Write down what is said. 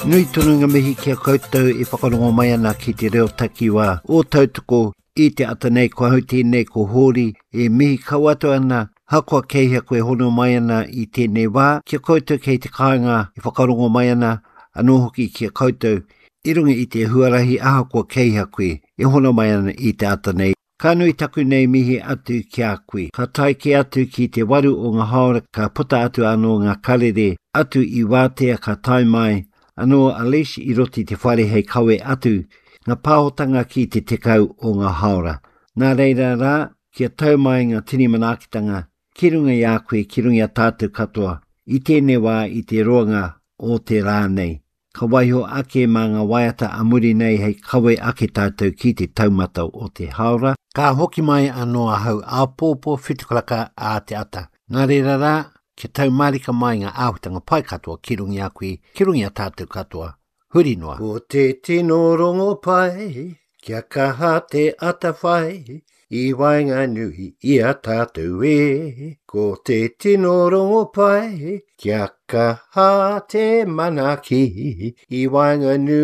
Nui tonu ngā mihi ki a koutou e whakarongo mai ana ki te reo takiwā o Tautoko i te ata nei ko ahau tēnei ko Hōri e mihi kau atu ana hakoa kei hea koe hono mai ana i tēnei wā ki a koutou kei te kāinga e whakarongo mai ana anō hoki ki a koutou i runga i te huarahi ahakoa kei hea koe e hono mai ana i te ata nei. Ka nui taku nei mihi atu ki a koe. Ka tae kē atu ki te waru o nga haora ka puta atu anō nga karere atu i wātea ka tae mai anō a Lesh i roto i te whare hei kawe atu nga pāhotanga ki te tekau o nga haora. Nā reira rā, kia tau mai nga tini manaakitanga ki runga i a koe, ki runga i a tātou katoa i tēnei wā i te roanga o te rā nei. Ka waiho ake mā ngā waiata a muri nei hei kawe ake tātou ki te taumata o te haora. Ka hoki mai anō ahau āpōpō whitukaraka ā te ata. Nā reira rā, kia tau mārika mai ngā āhuatanga pai katoa ki runga i a koe, ki runga i a tātou katoa, huri noa. Ko te tino rongopai, Kia kaha te atawhai i waenganui i a tātou e. Ko te tino rongopai, kia kaha te manaaki i waenganui.